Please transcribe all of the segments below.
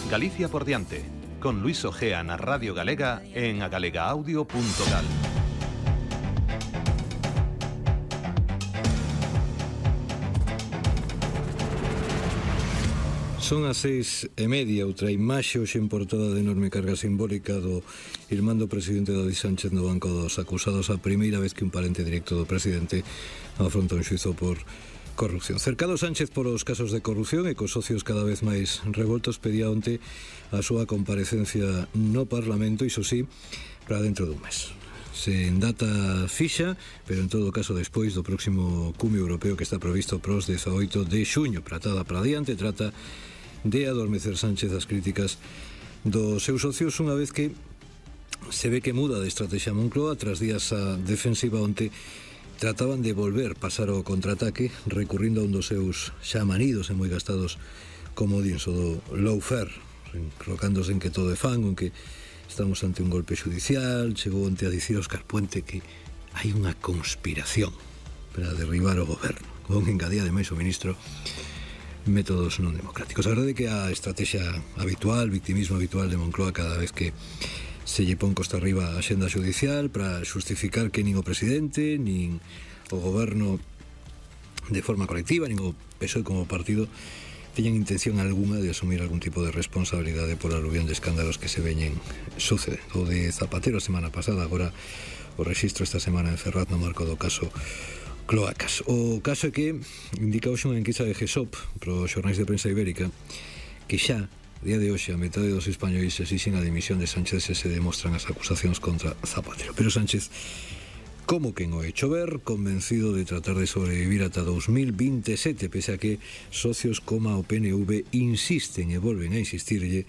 Galicia por diante, con Luis Ojea na Radio Galega en agalegaaudio.gal. Son as 6:30, outra imaxe hoxe en portada de enorme carga simbólica do irmán do presidente David Sánchez no banco dos acusados, a primeira vez que un parente directo do presidente afronta un xuizo por corrupción. Cercado Sánchez polos casos de corrupción e cos socios cada vez máis revoltos, pedía onte a súa comparecencia no Parlamento, iso sí, para dentro dun mes. Sen data fixa, pero en todo caso despois do próximo cumio europeo que está previsto para os 18 de xuño. Pratada para diante, trata de adormecer Sánchez as críticas dos seus socios unha vez que se ve que muda de estrategia Moncloa. Tras días a defensiva onte trataban de volver pasar ao contraataque recurrindo a un dos seus xa manidos e moi gastados comodíns, o do lawfare, colocándose en que todo é fan, aunque estamos ante un golpe judicial. Chegou onte a dicir Óscar Puente que hai unha conspiración para derribar o goberno, con engadía de máis o ministro métodos non democráticos. A verdade é que a estrategia habitual, victimismo habitual de Moncloa cada vez que se lle pon costa arriba a xenda judicial para justificar que nin o presidente nin o goberno de forma colectiva nin o PSOE como partido teñan intención alguna de asumir algún tipo de responsabilidade por aluvión de escándalos que se veñen sucede. O de Zapatero a semana pasada, agora o rexistro esta semana en Ferraz no marco do caso Cloacas. O caso é que indica hoxe unha enquisa de GESOP para os xornais de prensa ibérica que xa, día de hoxe, a metade dos españois exixen a dimisión de Sánchez se se demostran as acusacións contra Zapatero. Pero Sánchez, como quen o hecho ver, convencido de tratar de sobrevivir ata 2027, pese a que socios como o PNV insisten e volven a insistirlle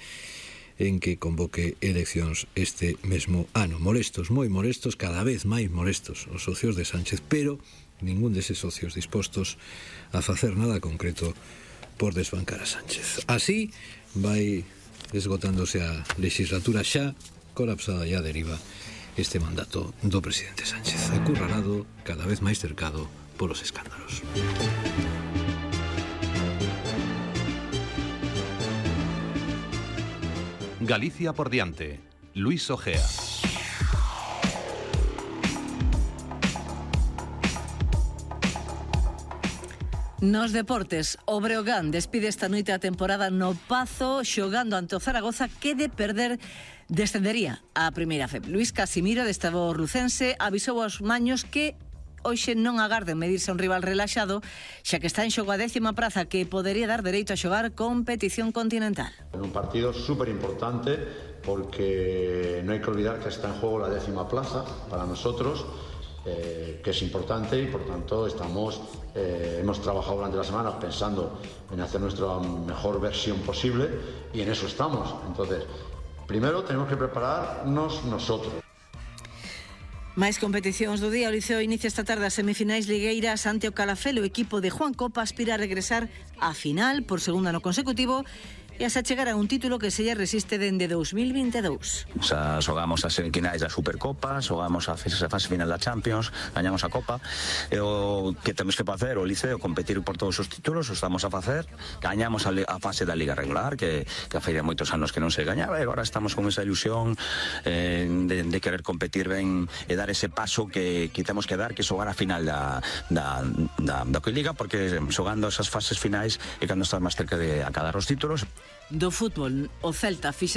en que convoque eleccións este mesmo ano. Molestos, moi molestos, cada vez máis molestos os socios de Sánchez, pero ningún deses socios dispostos a facer nada concreto por desbancar a Sánchez. Así vai esgotándose a legislatura xa colapsada e a deriva este mandato do presidente Sánchez, acurralado, cada vez máis cercado polos escándalos. Galicia por diante, Luis Ojea. Nos deportes, o Breogán despide esta noite a temporada no Pazo xogando ante o Zaragoza, que de perder descendería á primeira F. Luís Casimiro, adestrador lucense, avisou aos maños que hoxe non agarden medirse a un rival relaxado, xa que está en xogo a 10ª praza que podería dar dereito a xogar competición continental. En un partido súper importante porque no hay que olvidar que está en juego la 10ª plaza para nosotros, que es importante y por tanto hemos trabajado durante la semana pensando en hacer nuestra mejor versión posible y en eso estamos. Entonces, primero tenemos que prepararnos nosotros. Máis competicións do día. O Liceo inicia esta tarde as semifinais ligueiras ante o Calafel. O equipo de Juan Copa aspira a regresar á final por segundo ano consecutivo e a chegar a un título que se lle resiste dende 2022. Xogamos as semifinais da Supercopa, xogamos a fase final da Champions, gañamos a Copa, e o que temos que facer o Liceo, competir por todos os títulos, o estamos a facer, gañamos a fase da Liga regular, que faría moitos anos que non se gañaba, e agora estamos con esa ilusión de querer competir ben e dar ese paso que temos que dar, que xogar a final da Liga, porque xogando esas fases finais é cando estás máis cerca de acadar os títulos. Do fútbol, o Celta fixa